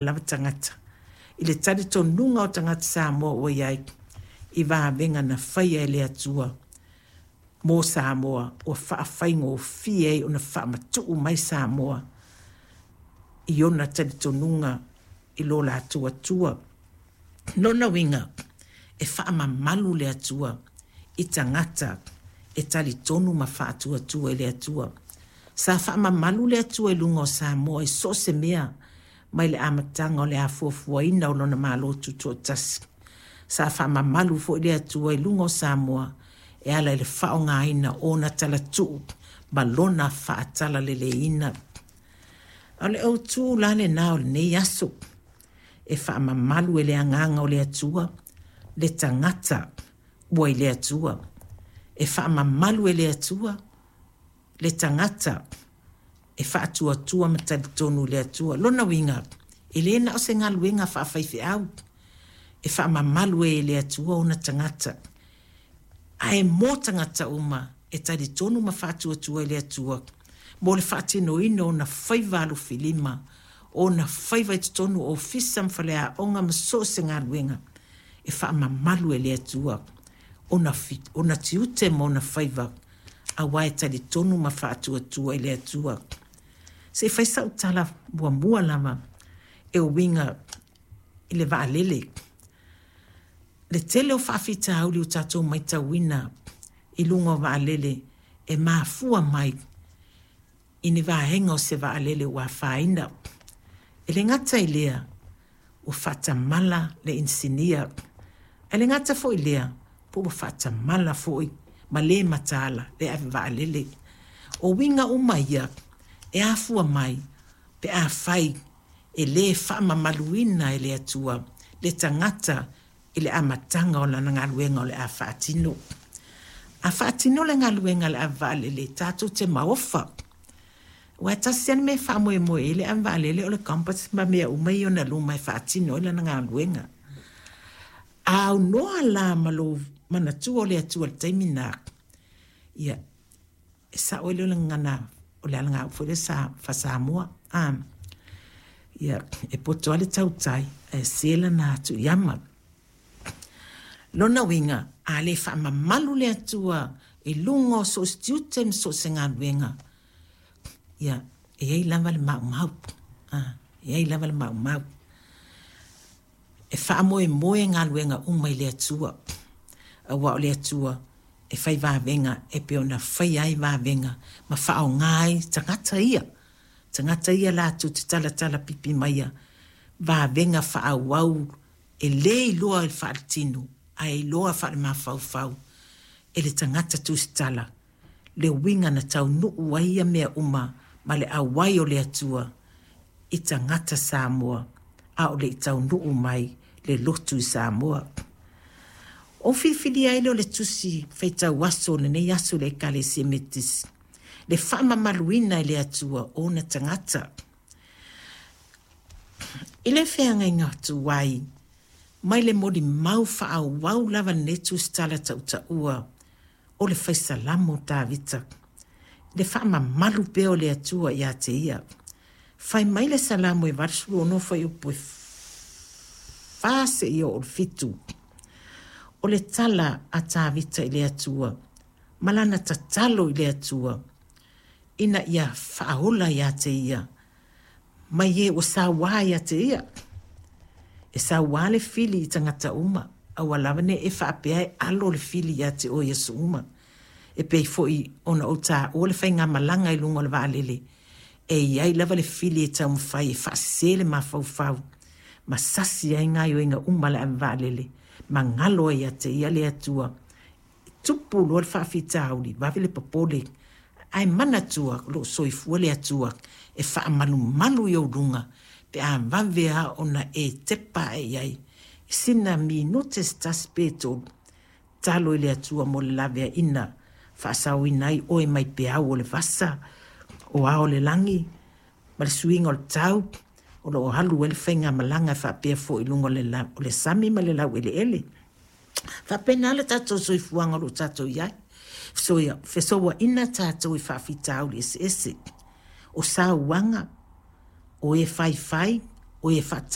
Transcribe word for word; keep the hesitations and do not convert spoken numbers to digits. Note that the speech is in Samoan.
Lava tagata i le talitonuga o tagata Samoa ua i ai i vavega na faia e le Atua mo Samoa, ua faafaigofie ai ona faamatuu mai Samoa i ona talitonuga i lo latou Atua. Lona uiga, e faamamalu le Atua i tagata e talitonu ma faatuatua i le Atua. Sa faamamalu le Atua i luga o Samoa i so o se mea mai le amataga o le afuafuaina o lona Malo Tutoatasi. Sa faamamalu foi le Atua i luga o Samoa e ala i le faaaogaina o ona talatuu ma lona faatalaleleiina. O le autu la lena o lenei aso, e faamamalu e le agaga o le Atua le tagata ua i le Atua. E faamamalu e le Atua le tagata e faatuatua ma talitonu i le Atua. Lona uiga, e le na o se galuega faafaifeau e faamamalu ai e le Atua ona tagata, ae mo tagata uma e talitonu ma faatuatua i le Atua mo le faatinoina o ona faiva alofilima, o ona faiva i totonu o ofisa ma faleaoga ma so o se galuega, e faamamalu e le Atua ona, ona tiute ma ona faiva, aua e talitonu ma faatuatua i le Atua. Se i fai sau tala muamua lava e uiga i le vaalele. Le tele o faafitauli ua tatou matauina i luga o vaalele e mafua mai i ni vaega o se vaalele ua afaina. E le gata i lea, ua faatamala le inisinia, ae le gata foi i lea, po ua faatamala foi ma le mataala le ave vaalele. O uiga uma ia e afua mai pe afai e le faamamaluina e le Atua le tagata i le amataga o lana galuega o le a faatino. A faatino le galuega a le ave vaalele, tatou te maofa. Aua e tasi lava le mea e faamoemoe i ai le ave vaalele o le compass ma mea uma ia i ona luma e faatino ai lana galuega. A aunoa la ma lou manatua o le Atua i le taimi lena, ia, e sao ai lea o le gagana, o le alagaupu foi lea sa faa-Samoa. Ah, ia, e poto lava le tautai ae se lana atu i ama. Lona uiga, a le faamamalu le Atua i luga o so o se tiute ma so o se galuega, ia, e i ai lava le maumau. Ah, e i ai lava le maumau. E faamoemoe galuega uma i le Atua, aua o le Atua e fai vavega e pei ona faia ai vavega ma faaaoga ai tagata ia. Tagata ia latou te talatala pipi maia vavega faaauau e le iloa i le faaletino, ae iloa faalemafaufau e le tagata tusitala le uiga na taunuu ai ia mea uma ma le auai o le Atua i tagata Samoa a o le i taunuu mai le lotu i Samoa. O filifilia ai lea o le tusi faitau aso o lenei aso i le Ekalesia Metotisi, le faamamaluina e le Atua o ona tagata. I le feagaiga tuai mai le molimau faaauau lava lenei tusitala tautaua o le faisalamo Tavita, le faamamalu pea o le Atua ia te ia. Fai mai le Salamo e valusefulu ono fuaiupu e fa seia oo i le fitu. O le tala a Tavita i le Atua ma lana tatalo i le Atua ina ia faaola ia te ia mai e ua sauā ia te ia. E sauā le fili i tagata uma, aua lava ne i e faapea e alo le fili ia te oe i aso uma. E pei foi ona ou taua le faigamalaga i luga o le vaalele, e i ai lava le fili e taumafai e faasese le mafaufau ma sasi ai gaoioiga uma a le ave vaalele ma galo ai ia te ia le Atua. E tupu loa le faafitauli, vave le popole, ae manatua o lo o soifua le Atua e faamalumalu i ou luga pe a vave lava ona e tepa ae i ai. Sina minute se tasi pe tolu, talo i le Atua mo le laveaiina, faasaoina ai oe mai peau o le vasa, o ao o le lagi, ma le suiga o le tau, o lo o alu ai le faigamalaga e faapea foi i luga o le, la, o le sami ma le laueleele. Faapena le tatou soifuaga o lo o tatou i ai. Fesoia, fesouaina tatou i faafitauli eseese. O sauaga, o e faifai, O e.